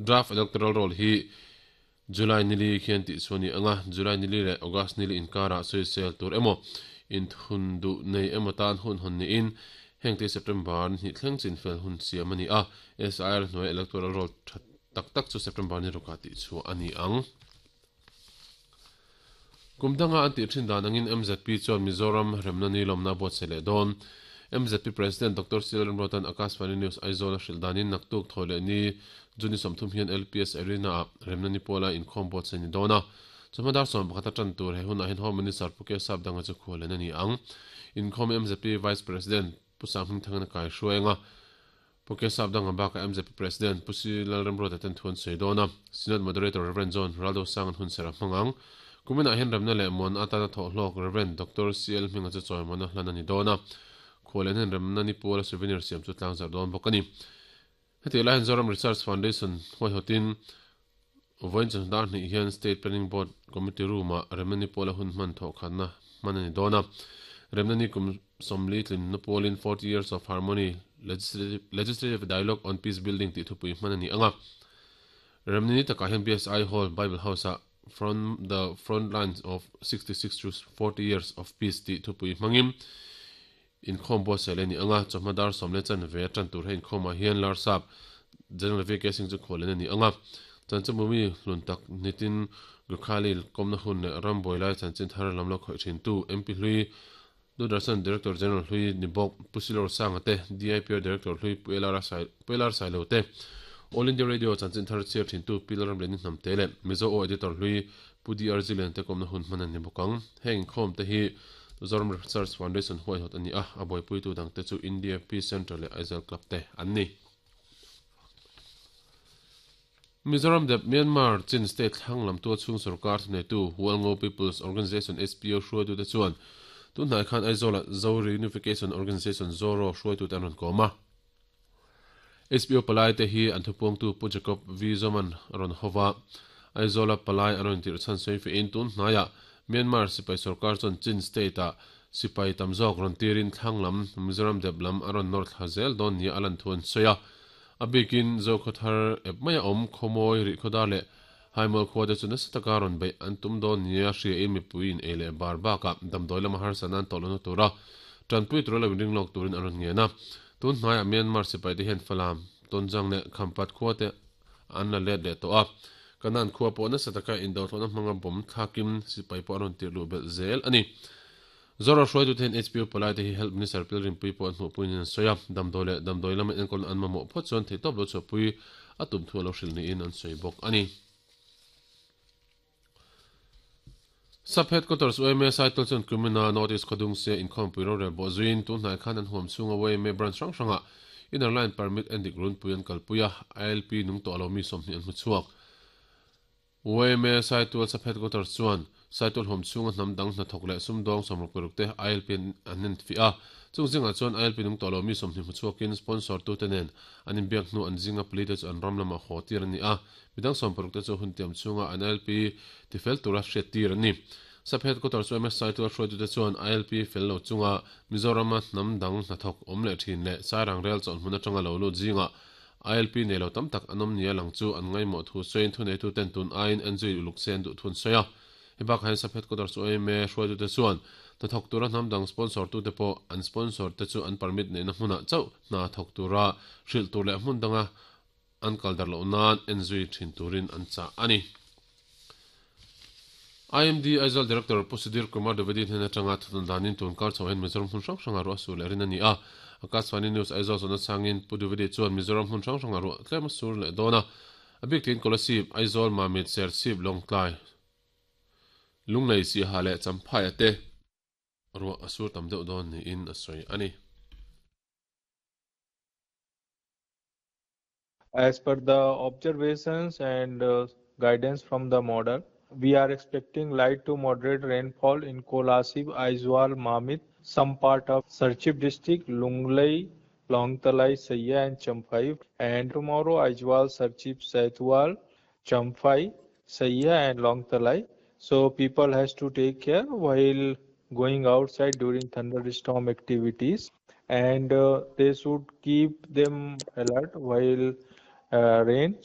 Draft Electoral Roll hi July nili khian tih chhuah a ni ang a, July nili leh August nili inkarah sawisel tur emaw, inthun duh nei emaw tan hun hawn niin hengte September ni hnih thleng chinfel hun siam a ni a, SIR hnuaia Electoral Roll tha tak tak chu September ni rukah tih chhuah a ni ang. Kum danga an tih thin dan angin mzp chuan Mizoram remna ni lawmna a buatsaih leh dawn. Mzp President Doctor C L Remruata'n Akashvani News Aizawl a hrilh danin naktuk thawi leh ni June ni 30 hian LPS Arena-ah remna ni puala inkhawm buatsaih ni dawn a. Chawhma dar 11 a tan tur he hunah hian Home Minister Pu Kesap Danga chu khualen a ni ang. Inkhawm mzp Vice President Pu Sanghmingthangin a kaihruai ang a. Pu Kesap Danga bakah mzp President Pu Si Lalremruata ten thu an sawi dawn a, Synod Moderator Rev. John Raldo Sanga'n hun serh a hmang ang. Kuminah hian remna leh muan atana thawh hlawk Rev. Doctor CL Hminga chu chawimawn a hlan a ni dawn a, khuallian hian remna ni puala souvenir siam chu tlangzarh dawn bawk a ni. Hetiang lai hian Zoram Research Foundation huaihawtin vawiin chawhnu dar hnih hian State Planning Board Committee Room-ah remna ni puala hun hman thawhkhatna hman a ni dawn a. Remna ni kum 40 tlinna pualin 40 Years of Harmony, Legislative Dialogue on Peace Building tih thupui hman a ni ang a. Remna ni takah hian BSI Hall, Bible House-ah From the Front Lines of 66 to 40 Years of Peace tih thupui hmangin inkhawm buatsaih leh a ni ang a. Chawhma dar sawm leh chanve a tan tur he inkhawmah hian Larsap General VK Singh chu khualin a ni ang a. Chanchinbumi hlun tak Nitin Gokhale kawmna hun leh ram buai lai chanchin thar lam lo khawih thintu MP hlui Doordarshan Director General hlui ni bawk Pu Silor Sanga te, DIPR Director hlui Pu LR Sailo te, All India Radio chanchin thar chhiar thintu Pi Lalramliani Hnamte leh Mizo Aw Editor hlui Pu DR Zilian te kawmna hun hman a ni bawk ang. Heng inkhawm te hi Zoram Research Foundation huaihawt a ni a, a buaipuitu dangte chu India Peace Centre leh Aizawl Club te an ni. Mizoram dep Myanmar Chin State thlang lam tual chhung sorkar thuneitu Hualngo People's Organisation HPO hruaitute chuan tunhnai khan Aizawlah Zo Reunification Organisation Zoro hruaitute an rawn kawm a. HPO palaite hi an thupuangtu Pu Jacob V Zoman a rawn ho va. Aizawla palai an rawn tirh chhan sawi fehin tunhnaiah Myanmar sipai sorkar chuan Chin State-ah sipai tam zawk rawn tirin thlang lam Mizoram dep lam a rawn nawr thla zel dawn nia a lan thu an sawi a. A bikin Zokhawthar ep maia awm Khawmawi, Rihkhawdar leh Haimual khua te chu nasa taka rawn beih an tum dawn nia hriain mipui in ei leh bar bakah damdawi lama harsatna an tawh lohna tura tanpui tura lo inring lawk turin an rawn ngen a. Tun hnaiah Myanmar sipai te hian Falam, Tonjang leh Khampat khua te an la let leh tawh a. Kanan khua pawh nasa taka indothlawhna hmanga bomb thlakin sipai pawh an rawn tirh luh belh zel a ni. Zoro hruaitute hian HPU palaite hi Health Minister Pilrinpui pawh an hmuhpuiin an sawi a, damdawi leh damdawi lama enkawlna an mamawh phawt chuan theihtawp lo chhuahpui a tum thu a lo hrilh niin an sawi bawk a ni. Sub Headquarters yma Saitual chuan Kumina North East Khawdung sia inkhawmpui rorel bawh zuiin tunhnai khan an huam chhunga yma branch hrang hrangah Inner Line Permit endik runpui an kalpui a, ILP nung tawh lo mi 20 an hmu chhuak. Yma Saitual Sub Headquarters chuan Saitual hawm chhunga hnam dang hnathawk leh sumdawng 66 te ILP an enfiah a, chung zingah chuan ILP nung tawh lo mi 20 hmu chhuakin sponsor tute nen an inbiak hnu an zinga pali te chu an ram lamah haw tir an ni a, midang 60 te chu hun tiam chhunga an ILP tifel tura hriat tir an ni. Sub Headquarters yma Saitual hruaitute chuan ILP fel lo chunga Mizorama hnam dang hnathawk awm leh thin leh Sairang rel chawlhhmun atanga lo lut zingah ILP nei lo tam tak an awm nia lang chu an ngaihmawh thu sawiin thuneituten tun aiin an zui uluk se an duh thun sawi a. Hei bakah hian Sub Headquarters yma hruaitute chuan hnathawk tura hnam dang sponsor tute pawh an sponsor te chu an permit neihna hmunah chauh hna thawk tura hrilh tur leh hmun danga an kal darh loh nan en zui thin turin an chah a ni. IMD Aizawl Director Pu Sudhir Kumar Dwivedi hnen atanga thutna danin tun kar chho hian Mizoram hmun hrang hrangah ruah sur leh rin a ni a. Akashvani News Aizawl zawhna changin Pu Dwivedi chuan Mizoram hmun hrang hrangah ruah tlem a sur leh dawn a. A bik tiin Kolasib, Aizawl, Mamit, Serchhip, Lawngtlai, Lunglei, Siaha leh Champhai-a te ruah a sur tam deuh dawn niin a sawi a ni. As per the observations and guidance from the model, we are expecting light to moderate rainfall in Kolasib, Aizawl, Mamit, some part of Serchhip district, Lunglei, Lawngtlai, Saiha and Champhai. And tomorrow Aizawl, Serchhip, Saitual, Champhai, Saiha and Lawngtlai. So people has to take care while going outside during thunderstorm activities, and they should keep them alert while rain.